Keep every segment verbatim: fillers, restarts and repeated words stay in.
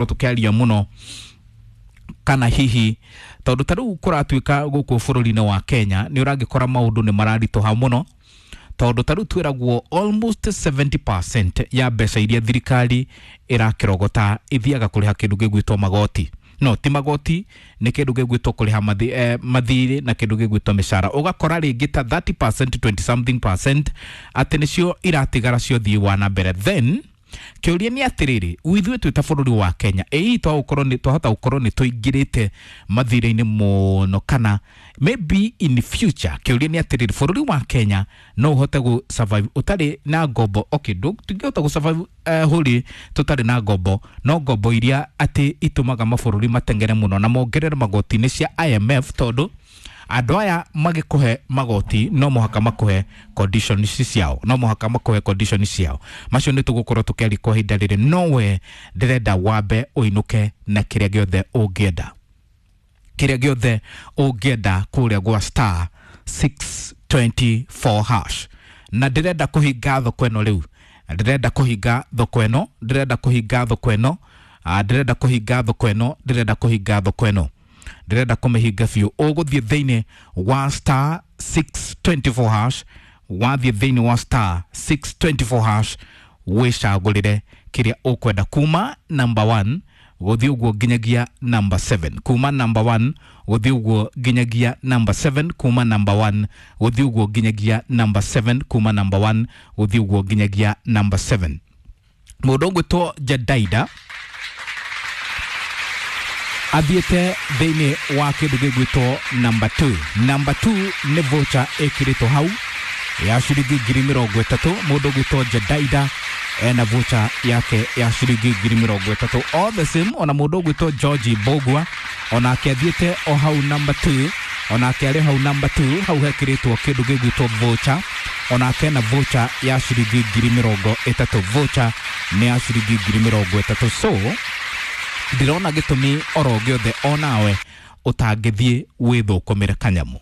Tukiaria muno kana hihi tondu ta riu kuratuika guku bururi-ini wa Kenya ni uragikora maundu ni mararituha muno, tondu ta riu twiragwo almost seventy percent ya mbeca iria thirikari irakirogota ithiaga kuriha kindu gigwitwo magoti. No ti magoti, ni kindu gigwitwo kuriha mathi, eh, mathirĩ na kindu gigwitwo mĩcara. Ũgakora rĩngĩ ta thirty percent, twenty something percent atĩ nĩcio iratigara cio ũthii wa na mbere. Then kĩũria nĩ atĩrĩrĩ, ithuĩ twĩ ta bũrũri wa Kenya, ĩ twagũkorwo nĩ twahota gũkorwo nĩ tũingĩrĩte mathirĩ-inĩ mũno kana maybe in future? Kĩũria nĩ atĩrĩrĩ, bũrũri wa Kenya no ũhote gũ survive ũtarĩ na ngombo? Okay, tũngĩhota gũ survive uh, hũri tũtarĩ na ngombo, no ngombo iria atĩ itũmaga mabũrũri matengere mũno na mongerere magoti-inĩ cia I M F, tondũ andũ aya magĩkũhe magoti no mũhaka makũhe conditions ciao, no mũhaka makũhe conditions ciao. Macio nĩ tũgũkorwo tũkĩaria kwa ihinda rĩrĩ, no we ndĩrenda wambe ũinũke na kĩrĩa gĩothe ũngĩenda, kĩrĩa gĩothe ũngĩenda kũrĩa gwa star six two four hash. Na ndĩrenda kũhinga thoko ĩno rĩu, ndĩrenda kũhinga thoko ĩno, ndĩrenda kũhinga thoko ĩno, ndĩrenda kũhinga thoko ĩno, ndĩrenda kũhinga thoko ĩno, ndĩrenda kũmĩhinga biũ. Ũgũthiĩ thĩinĩ wa star six two four hash, wathiĩ thĩinĩ wa star six two four hash wĩcagũrĩre kĩrĩa ũkwenda kuma number one gũthiĩ ũguo nginyagia number seven, kuma number one gũthiĩ ũguo nginyagia number seven, kuma number one gũthiĩ ũguo nginyagia number seven, kuma number one gũthiĩ ũguo nginyagia number seven. Mũndũ ũgwĩtwo Jedaida athiĩte thĩinĩ wa kĩndũ gĩgwĩtwo number two. Number two nĩ voucher ĩkĩrĩtwo hau ya ciringi ngiri mĩrongo ĩtatũ. Mũndũ ũgwĩtwo Jedaida ena voucher yake ya ciringi ngiri mĩrongo ĩtatũ. All the same, ona mũndũ ũgwĩtwo George Mbogua onake athiĩte o hau number two, onake arĩ hau number two, hau hekĩrĩtwo kĩndũ gĩgwĩtwo voucher, onake ena voucher ya ciringi ngiri mĩrongo ĩtatũ. Voucher nĩ ya ciringi ngiri mĩrongo ĩtatũ. So ndĩrona gĩtũmi oro gĩothe onawe ũtangĩthiĩ wĩthũkũmĩre kanyamu.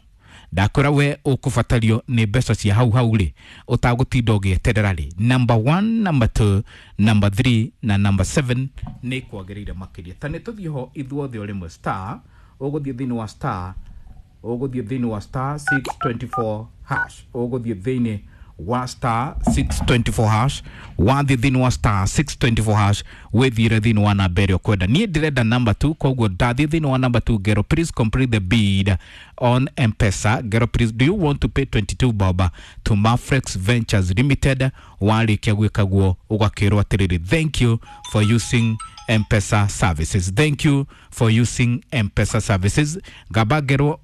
Ndakwĩra we ũkũbatario nĩ mbeca cia hau hau rĩ, ũtagũtinda ũgĩeterera rĩ, number one, number two, number three na number seven nĩ kwagĩrĩire makĩria. Ta nĩ tũthiĩ ho ithuothe o rĩmwe. Star, ũgũthiĩ thĩinĩ wa star, ũgũthiĩ thĩinĩ wa star six two four hash, ũgũthiĩ thĩinĩ wa star six two four hash. Wathiĩ thĩinĩ wa star six two four hash wĩthiĩre thĩinĩ wa namba ĩrĩa ũkwenda. Niĩ ndĩrenda number two, koguo ndathiĩ thĩinĩ wa number two ngero "Please complete the bid on M-Pesa." Ngero "Please, do you want to pay twenty-two bob to Mafrex Ventures Limited?" Warĩkia gwĩka guo ũgakĩrwo atĩrĩrĩ, "Thank you for using M-Pesa services, thank you for using M-Pesa services." Ngamba ngerwo,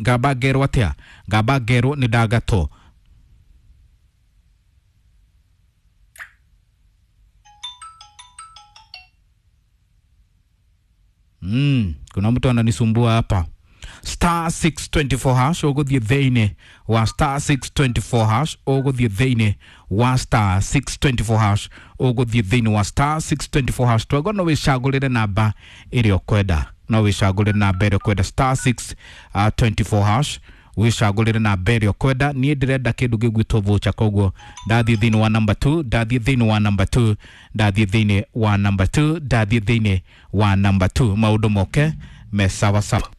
ngamba ngerwo atĩa? Ngamba ngerwo nĩ ndagatwo. Mm, kuna mtu ananisumbua hapa. Star six two four hash, ũgũthiĩ thĩinĩ wa star six two four hash, ũgũthiĩ thĩinĩ wa star six two four hash, ũgũthiĩ thĩinĩ wa star six two four hash. Twego no wĩcagũrĩre namba ĩrĩa ũkwenda, no wĩcagũrĩre namba ĩrĩa ũkwenda. Star six two four hash, wĩcagũrĩre namba ĩrĩa ũkwenda. Niĩ ndĩrenda kĩndũ gĩgwĩtwo voucher, koguo ndathiĩ thĩinĩ wa number two, ndathiĩ thĩinĩ wa number two, ndathiĩ thĩinĩ wa number two, ndathiĩ thĩinĩ wa number two, maũndũ moke me sawa sawa.